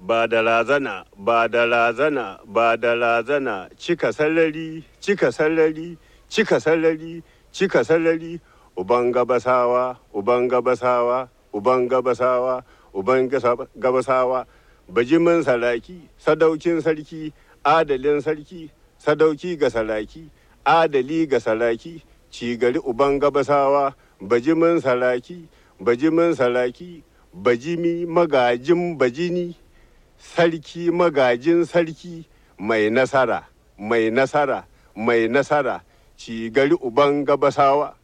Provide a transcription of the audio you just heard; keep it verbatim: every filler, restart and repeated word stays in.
Ba da razana, ba da razana, ba da razana, cika sarari, cika sarari, cika sarari, cika sarari, uban gabasawa, uban gabasawa, uban gabasawa, uban gabasawa, bajimin saraki, sadaukin sarki, adalin sarki, sadauki ga saraki, adali ga saraki, cigari uban gabasawa, bajimin saraki, bajimin saraki, bajimi magajin bajini, sarki magajin sarki, mai nasara, mai nasara, mai nasara, cigari uban gabasawa.